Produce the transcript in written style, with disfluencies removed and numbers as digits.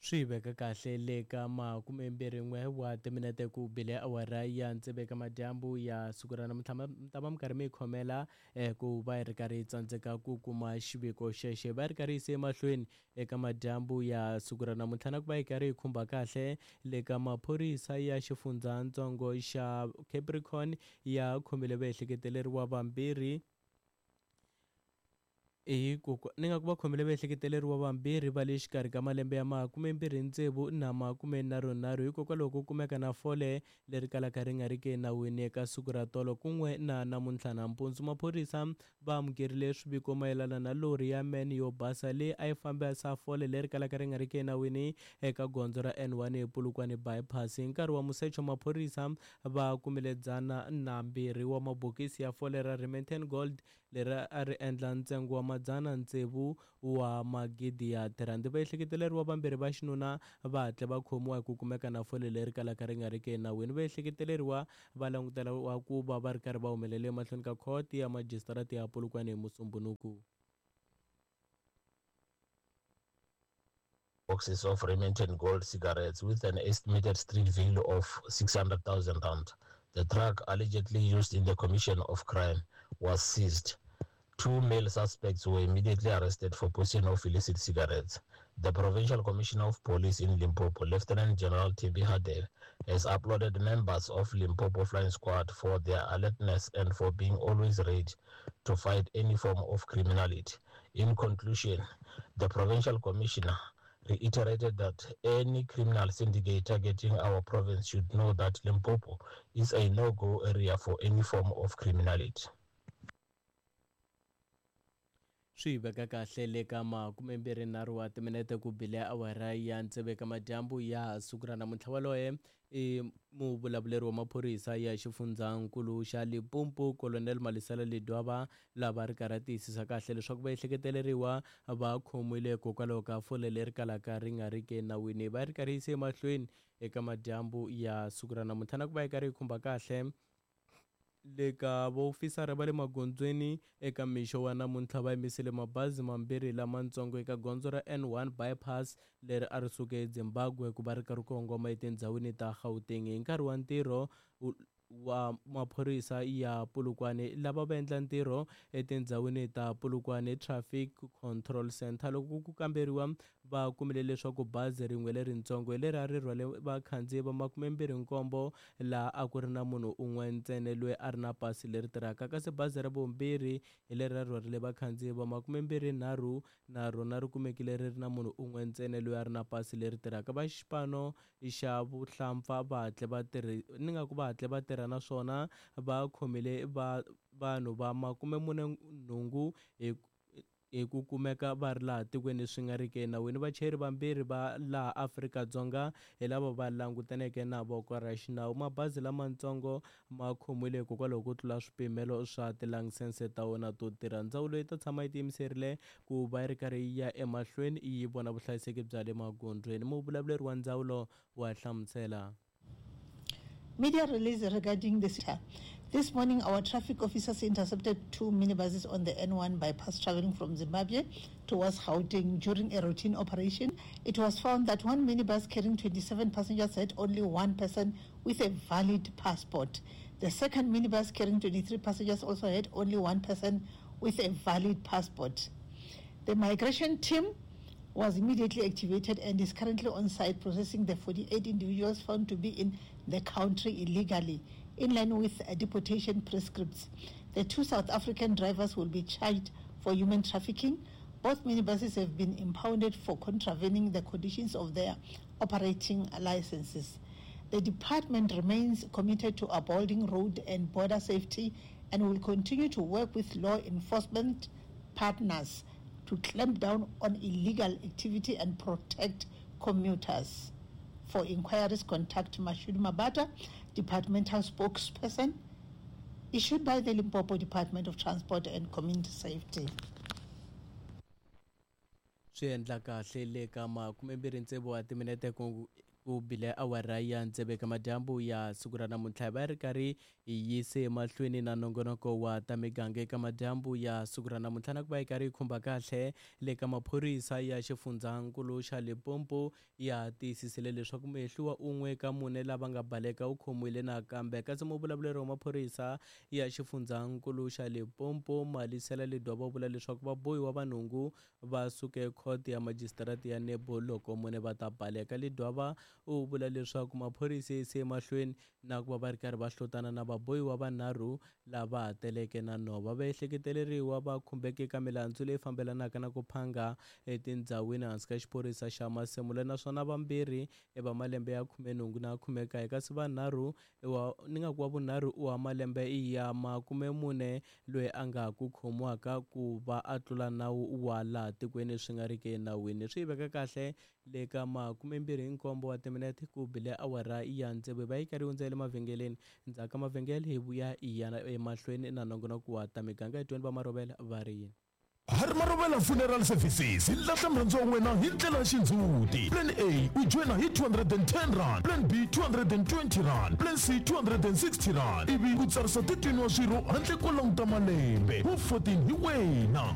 Swi veka kahle le ka makumembirhin'we wa timinete ku bile awara ya tsevu eka madyambu ya siku ra namuntlha. Mi ta va mi karhi mi yi khomela ku va hi ri karhi hi tsandzeka ku kuma xiviko xexo. Hi va hi ri karhi hi yise emahlweni eka madyambu ya siku ra namuntlha na ku va hi karhi hi khumba kahle le ka maphorisa ya xifundzatsongo xa Capricorn ya khomile vaehleketeleriwa vambirhi Hi ku ni nga ku va khomile vaehleketeleriwa vambirhi va le xikarhi ka malembe ya 26 na 33 hikokwalaho ko kumeka na fole leri kalaka ri nga riki enawini eka siku ra tolo kun'we na namuntlha nampundzu. Maphorisa va amukerile swiviko mayelana na lori ya man yo basa leyi a yi fambisa fole leri kalaka ri nga riki enawini eka gondzo ra N1 ePolokwane Bypass. Hi nkarhi wa musecho maphorisa va kumile 102 wa mabokisi ya fole ra Remington Gold leri a ri endla ntsengo wa madzana tsevu wa magidi ya tirhandi. Vaehleketeleriwa vambirhi va xinuna va hatle va khomiwa hi ku kumeka na fole leri kalaka ri nga riki enawini. Vaehleketeleriwa va languteriwa ku va va ri karhi va humelela emahlweni ka khoto ya majisitarata ya Polokwane hi Musumbhunuku. Boxes of Remington Gold cigarettes with an estimated street value of 600,000 rand. The truck allegedly used in the commission of crime was seized. Two male suspects were immediately arrested for possession of illicit cigarettes. The Provincial Commissioner of Police in Limpopo, Lieutenant General Thembi Hadebe, has applauded members of Limpopo Flying Squad for their alertness and for being always ready to fight any form of criminality. In conclusion, the Provincial Commissioner reiterated that any criminal syndicate targeting our province should know that Limpopo is a no-go area for any form of criminality. Swi veka kahle le ka makumembirhinharhu wa timinete ku bile awara ya tsevu eka madyambu ya siku ra namuntlha. Waloye i muvulavuleri wa maphorisa ya xifundzankulu xa Limpopo, Colonel Malisela Ledwaba, lava ri karhi a tiyisisa kahle leswaku vaehleketeleriwa va khomiwile hikokwalaho ka fole leri kalaka ri nga riki enawini. Va ri karhi yise emahlweni eka madyambu ya siku ra namuntlha na ku va yi karhi yi khumba kahle le ka vaofisara va le magondzweni eka mixo wa namuntlha va yimisile mabazi mambirhi lamatsongo eka gondzo ra N1 bypass leri a ri suka eZimbabwe ku va ri karhi kongoma etindhawini ta Gauteng. Hi nkarhi wa ntirho wa maphorisa ya Polokwane lava va endla ntirho etindhawini ta Polokwane Traffic Control Centre, loko ku kamberiwa va kumile leswaku bazi rin'we leritsongo hi leri a ri rhwale vakhandziyi va 27 laha a ku ri na munhu un'we ntsena loyi a ri na pasi leri tirhaka, kasi bazi ra vumbirhi hi leri a rhwarile vakhandziyi va 23 na rona ri kumekile ri ri na munhu un'we ntsena loyi a ri na pasi leri tirhaka. Va xipano xa vuhlampfa va hatle va tirhi ni nga ku va hatle va tirha naswona va khomile va vanhu va 48 hi hi ku kumeka va ri laha tikweni swi nga riki enawini. Vachayeri vambirhi va laha Afrika-Dzonga hi lava va langutaneke na voko ra xinawu. Mabazi lamatsongo ma khomiwile hikokwalaho ko tlula swipimelo swa tilayisense ta wona to tirha. Ndzawulo yi ta tshama yi tiyimiserile ku va yi ri karhi yi ya emahlweni yi vona vuhlayiseki bya le magondzweni. Muvulavuleri wa ndzawulo wa hlamusela. Media release regarding this. This morning, our traffic officers intercepted two minibuses on the N1 bypass traveling from Zimbabwe towards Gauteng during a routine operation. It was found that one minibus carrying 27 passengers had only one person with a valid passport. The second minibus carrying 23 passengers also had only one person with a valid passport. The migration team was immediately activated and is currently on site processing the 48 individuals found to be in the country illegally, in line with deportation prescripts. The two South African drivers will be charged for human trafficking. Both minibuses have been impounded for contravening the conditions of their operating licenses. The department remains committed to upholding road and border safety and will continue to work with law enforcement partners to clamp down on illegal activity and protect commuters. For inquiries, contact Mashudu Mabata, departmental spokesperson, issued by the Limpopo Department of Transport and Community Safety. Swi endla kahle le ka makumembirhi tsevu wa timinete ku Ku bile awara ya tsevu eka madyambu ya siku ra namuntlha hi va ri karhi hi yise emahlweni na nongonoko wa ta miganga eka madyambu ya siku ra namuntlha na ku va hi karhi hi khumba kahle le ka maphorisa ya xifundzankulu xa Limpopo ya tiyisisile leswaku muhehliwa un'we ka mune lava nga baleka u khomiwile nakambe. Kasi muvulavuleri wa maphorisa ya xifundzankulu xa Limpopo Malisela Ledwaba u vula leswaku vabohiwa va nhungu va suke khoto ya majisitarata ya Nebo loko mune va ta baleka. Ledwaba u vula leswaku maphorisa ya yise emahlweni na ku va va ri karhi va hlotana na vabohiwa vanharhu lava ha teleke na nhova. Vaehleketeleriwa va khumbeke eka milandzu leyi fambelanaka na ku phanga etindhawini hansi ka xiphorisa xa Masemula naswona vambirhi i va malembe ya 18 na 19 kasi vanharhu wa ni nga ku wa vunharhu i wa malembe ya 40 loyi a nga ha ku khomiwaka ku va a tlula nawu wa laha tikweni swi nga riki enawini. Swi yi veka kahle le ka 27 wa timinete ku bile awara ya tsevu hi va yi karhi yi hundza le mavhengeleni. Ndzhaku ka mavhengele hi vuya hi ya emahlweni na nongonoko wa ta miganga hi tweni va Marhuvela va ri yini. Harry Marhuvela Funeral Services yi lahla murhandziwa wa wena hi ndlela ya xindzhuti. Plan A u joyina hi R210, Plan B R220, Plan C R260 ivi u tsarisa 13 wa swirho handle ko languta malembe. Wu 14 hi wena.